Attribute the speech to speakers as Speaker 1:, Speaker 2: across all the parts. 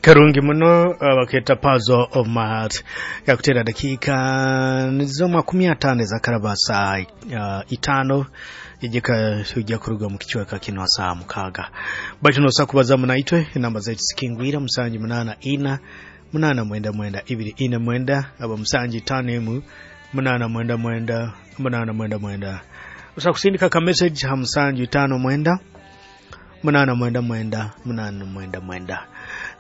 Speaker 1: Karungi muno baketa Puzzle of My Heart yakutera dakika nizo 50 za karaba saa 5 ijika tujja kuruga mu kichweka kino saa 6 baitu nosa kubaza munaitwe namba zaitu zikingwira 784 899 249 aba 75 899 899 usa kusindika ka message ha 759 899 899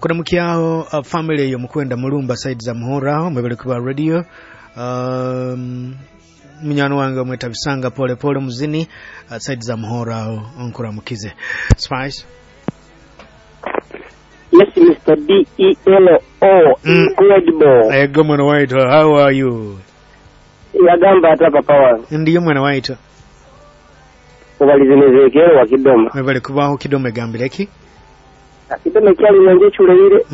Speaker 1: kuna mukiaho family yo mukwenda Mulumba side za Muhora mwebele kuba radio munyano wange mweta bisanga pole pole muzini side za Muhora onkura mukize Spice.
Speaker 2: Yes, Mr. D-E-L-O, incredible.
Speaker 1: Ego mwana waitu, how are you?
Speaker 2: Yagamba ata papa wange.
Speaker 1: Ndiyo mwana waitu.
Speaker 2: Obalizenezekero wa Kidoma.
Speaker 1: Mwebale kubaho Kidoma egambireki?
Speaker 2: Kidoma kyali nanje chuleire.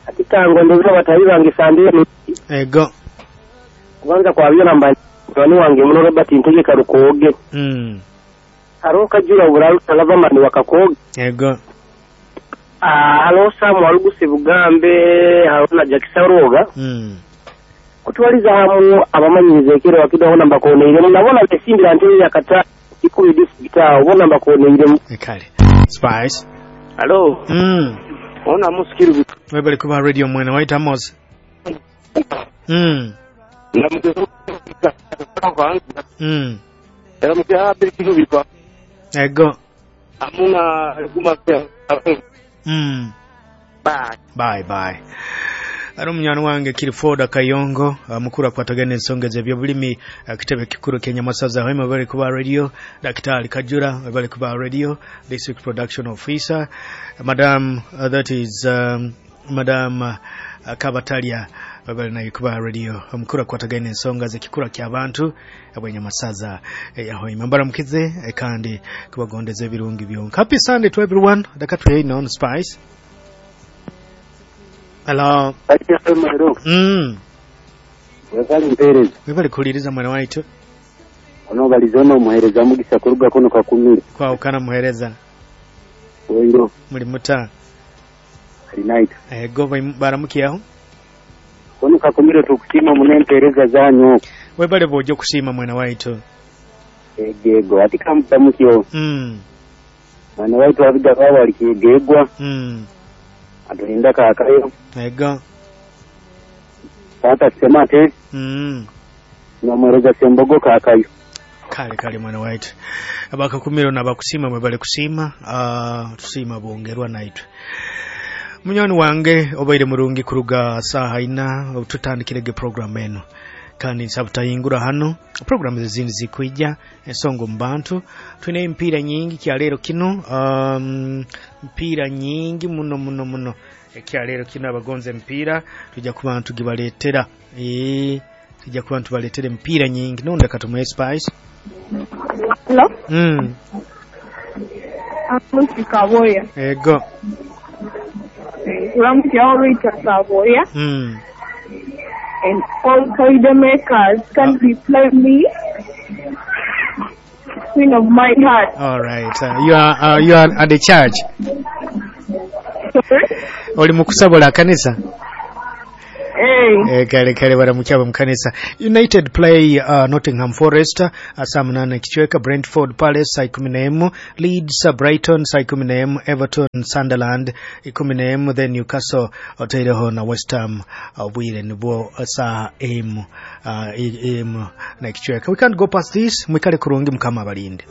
Speaker 2: Atitango ndozira batayi bange sambire.
Speaker 1: Ego.
Speaker 2: Kubanza kwa byona mba bani wange muno Robert Ntegeka Rukoge. Haroka jura buralu talava mani wakakoge.
Speaker 1: Ego.
Speaker 2: Halo Samu Aluguse Bugambe, harona Jackson Roga. Kutwaliza hamu abamanyirize wa Kidoma namba koneire nabona besimbira ntebe yakata ikumi district ubona mbakoneire.
Speaker 1: Kale. Spice.
Speaker 2: Hello. Ona musikiru.
Speaker 1: Mwebale kuba radio mwena White Amos. Ego.
Speaker 2: Amuna guma. Bye.
Speaker 1: Bye bye. Ari munyano wange Kirifoda Kayongo mukuru akwatagana ensonga z'ebyobulimi kitebe kikuru Kenya Masaza hema bali kuba radio Daktari Kajura bali kuba radio District Production Officer Madam that is Madam Kabatalia bali nayo kuba radio mukuru akwatagana ensonga z'ekikura ky'abantu abwenya Masaza yaho mbara mukize kandi kubagondeza ebirungi byonka. Happy Sunday to everyone. Dakatwe on Spice. Hello.
Speaker 2: Webali mpereza.
Speaker 1: Webali kuliriza mwana waitu.
Speaker 2: Ono balizono muhereza mugisa kuruga kono kakumire.
Speaker 1: Kwa ukana muhereza.
Speaker 2: Oiro.
Speaker 1: Muri muta.
Speaker 2: Ali night.
Speaker 1: Go baramuki aho.
Speaker 2: Kono kakumire tukusima munempereza zanyu.
Speaker 1: Webali bojo kusima mwana waitu.
Speaker 2: Ego atika mtamukio. Mwana waitu abiga bawali kigegwa. Atulinda kakayo.
Speaker 1: Ego.
Speaker 2: Tata semate. Namwereza sembogo kakayo.
Speaker 1: Kale kale mwana waitu. Abakakumiro na bakusima mwebale kusima, tusima bongerwa naitwe. Munyoni wange obaire murungi kuruga saha ina tutandikirege program eno. Kandi nsabutayingura hano program zizindi zikuija ensongo mbantu twine mpira nyingi kya lero kino mpira nyingi muno muno muno kya lero kino abagonze mpira tujja kuba tugibaletera tujja kuba tubaletere mpira nyingi nonda katumuye Spice.
Speaker 3: Hello. Amusi Kaboya.
Speaker 1: Ego.
Speaker 3: Ramuki Kaboya. And all corridor makers can reply me, Queen of my heart.
Speaker 1: All right, you are at the church.
Speaker 3: Sorry?
Speaker 1: Oli mukusabola kanisa.
Speaker 3: Hey.
Speaker 1: Kale kale baramukyaba mukanisa. United play Nottingham Forest saa 8 kichweka, Brentford Palace saa 11, Leeds Brighton saa 11, Everton Sunderland 11, then Newcastle otaireho na West Ham bwire nibwo saa m na kichweka. We can't go past this. Mwikale kurungi mukama abalinde.